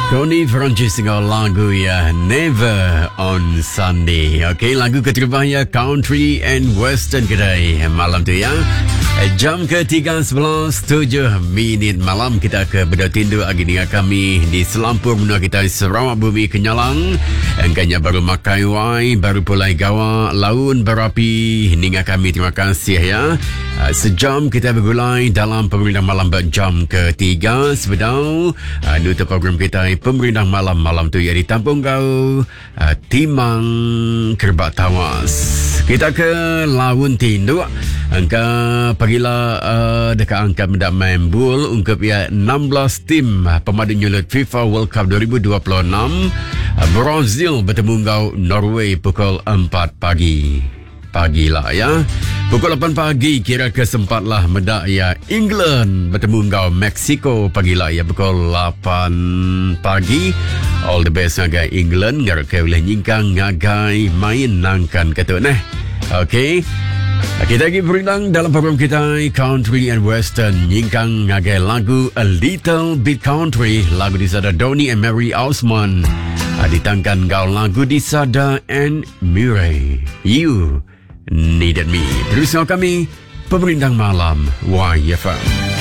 Tony Francis enggau lagu ya Never on Sunday. Okey, lagu keterubah ya Country and Western kedai malam tu ya. Jam ke 3.11 minit malam kita ke beda tindu agi ninga kami di selampur menua kita Sarawak Bumi Kenyalang. Engkanya baru makai wai, baru pulai gawa, laun berapi ninga kami terima kasih ya. Ah, sejam kita bergulai dalam pemerintah malam jam ketiga sebedau uh, nutup program kita pemerintah malam malam tu ya ditampung kau uh, timang kerbak tawas. Kita ke laun tinduk angka pagila uh, dekat angka mendak main bul ungkup ya 16 tim pemadu nyulut FIFA World Cup 2026 Brazil bertemu enggau Norway pukul 4 pagi. Pagi lah ya. Pukul 8 pagi kira ke sempatlah medak ya England bertemu enggau Mexico pagi lah ya pukul 8 pagi. All the best ngagai England ngarap ke ulih nyingkang ngagai main nangkan ke tu neh. Okey. Kita lagi berindang dalam program kita Country and Western nyingkang ngagai lagu A Little Bit Country lagu disada Donny and Mary Osmond ditangkan enggau lagu disada Anne Murray, You Needed Me. Terus enggau kami, Pemerindang Malam YFM.